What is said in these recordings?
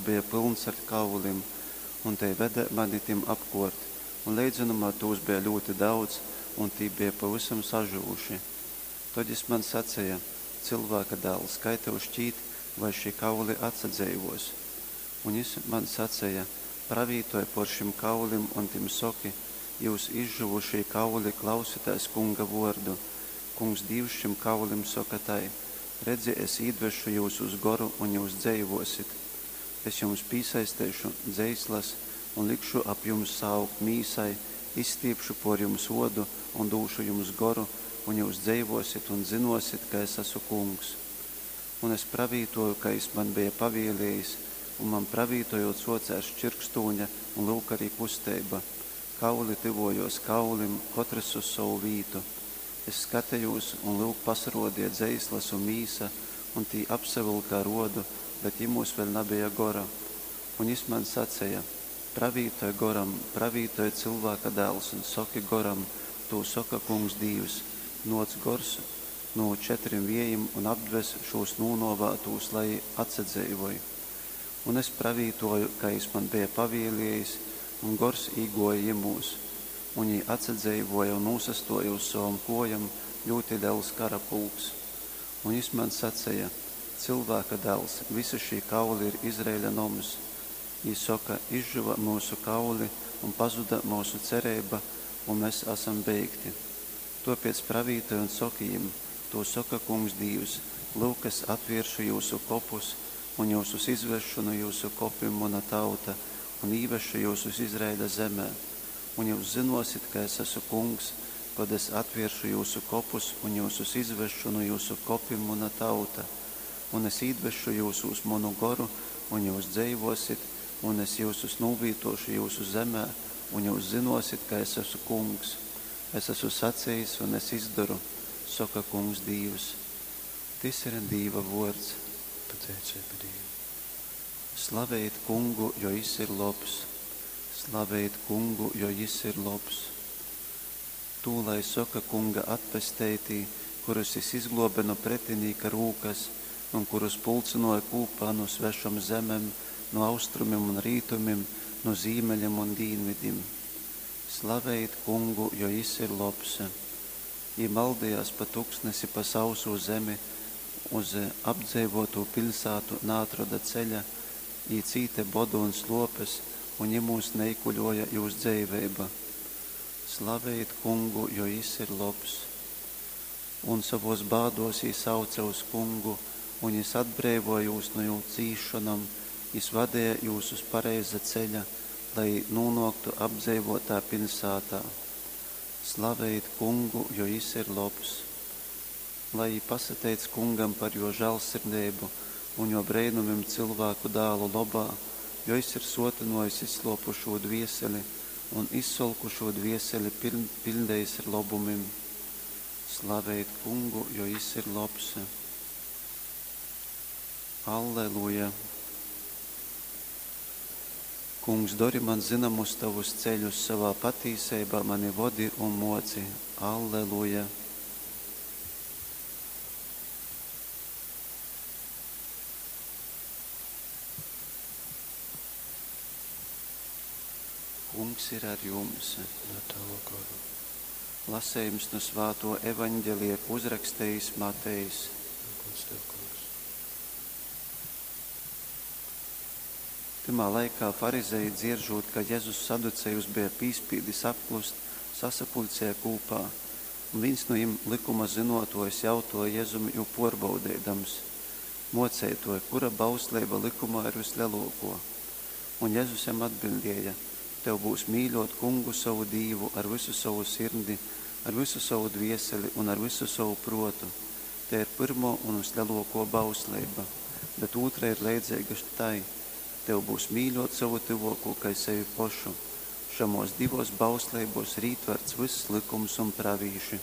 beja pylns ar kaulim, un tei vede mani tim apkōrt, un leidzonumā tūs beja ļūti daudz, un tī beja pavysam sažyvuši. Tod jys man saceja, Cylvāka dāls, kai tev škīt, vai šī kauli atsadzeivōs? Un jys man saceja, Pravītoj pōr šim kaulim un tim soki, Jyus, izžyvušī kauli, klausitēs Kunga vōrdu! Kungs Dīvs šim kaulim soka tai, Redzi, es īdvesšu jyusūs goru, un jyus dzeivōsit. Es jums pīsaisteišu dzeislas un likšu ap jums saaugt mīsai, izstīpšu pōr jums ōdu un dūšu jums goru, un jyus dzeivōsit un zynōsit, ka es asu Kungs. Un es pravītōju, kai jys man beja pavēlējis, un man pravītojūt sōcēs čyrkstūne un lyuk arī kusteiba. Kauli tyvōjōs kaulim, kotrys uz sovu vītu. Es skatejūs, un lyuk pasarōdeja dzeislas un mīsa, un tī apsavylka ar ōdu, bet jymūs vēļ nabeja gora. Un jys man saceja, Pravītoj goram, pravītoj, cylvāka dāls, un soki goram, Tū soka Kungs Dīvs, Nōc, gors, nu četrim viejim un apdves šūs nūnōvātūs, lai jī atsadzeivoj. Un es pravītōju, kai jys man beja pavēlējis, un gors īgōja jymūs, un jī atsadzeivōja un nūsastōja uz sovom kōjom, ļūti lels karapulks. Un jys man saceja, Cylvāka dāls, visi šī kauli ir Izraeļa noms. Jī soka, Izžyva myusu kauli un pazuda myusu cereiba, un mes asam beigti. Tōpēc pravītoj un soki jim, Tū soka Kungs Dīvs, Lyuk, es atvēršu jyusu kopus un jyusus izvesšu nu jyusu kopim, muna tauta, un īvesšu jyusus Izraeļa zemē. Un jyus zynōsit, ka es asu Kungs, kod es atvēršu jyusu kopus un jyusus izvesšu nu jyusu kopim, muna tauta. Un es īdvesšu jyusūs munu goru, un jyus dzeivōsit, un es jyusus nūvītōšu jyusu zemē, un jyus zynōsit, ka es asu Kungs. Es asu sacejis, un es izdoru, soka Kungs Dīvs. Tys ir Dīva vōrds. Pateiceiba Dīvam. Slavejit Kungu, jo jys ir lobs. Slavejit Kungu, jo jys ir lobs. Tū lai soka Kunga atpesteitī, kurus jys izglōbe nu pretinīka rūkas un kurus pulcynōja kūpā nu svešom zemem, nu austrumim un rītumim, nu zīmeļim un dīnvidim. Slavejit Kungu, jo jys ir lobs. Jī maldejās pa tuksnesi, pa sausū zemi, uz apdzeivōtu piļsātu naatroda ceļa, jī cīte bodu un slōpes, un jymūs neikuļōja jūs dzeiveiba. Slavejit Kungu, jo jys ir lobs. Un sovōs bādōs jī sauce uz Kungu, un jys atbreivōja jūs nu jū cīsšonom, jys vadeja jūs uz pareiza ceļa, lai jī nūnōktu apdzeivōtā piļsātā. Slavejit Kungu, jo jys ir lobs. Lai jī pasateic Kungam par jō žāļsirdeibu un jō breinumim cylvāku dālu lobā, jo jys ir sōtynōjis izslōpušū dvieseli un izsolkušū dvieseli piļdejis ar lobumim. Slavejit Kungu, jo jys ir lobs. Alleluja! Kungs, dori man zynomus tovus ceļus, sovā patīseibā mani vodi un mōci. Alleluja! Kungs ir ar jums. Un ar tavu goru. Lasejums nu svātō Evaņgelija, ko uzrakstejis Matejs. Gods tev, Kungs. Tymā laikā farizeji, dzieržūt, ka Jezus saducejus beja pīspīdis apklust, sasapuļcēja kūpā. Un vīns nu jim, lykuma zynōtōjs, jautōja Jezum, jū pōrbaudeidams: Mōceitōj, kura bausleiba lykumā ir vyslelōkō? Un Jezus jam atbiļdēja: Tev byus mīļōt Kungu sovu Dīvu ar vysu sovu sirdi, ar vysu sovu dvieseli un ar vysu sovu prōtu. Tei ir pyrmō un vyslelōkō bausleiba. Bet ūtra ir leidzeiga tai: Tev byus mīļōt sovu tyvōkū kai sevi pošu. Šamōs divōs bausleibōs ir ītvarts vyss lykums un pravīši.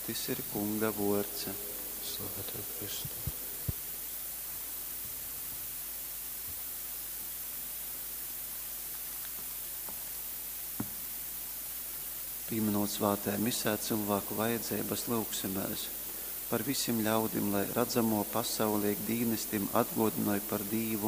Tys ir Kunga vōrds. Slava tev, Kristu! Pīminūt svātajā misē cylvāku vajadzeibas, lyugsimēs par visim ļaudim, lai radzamō pasaule ik dīnys tim atgōdynoj par Dīvu.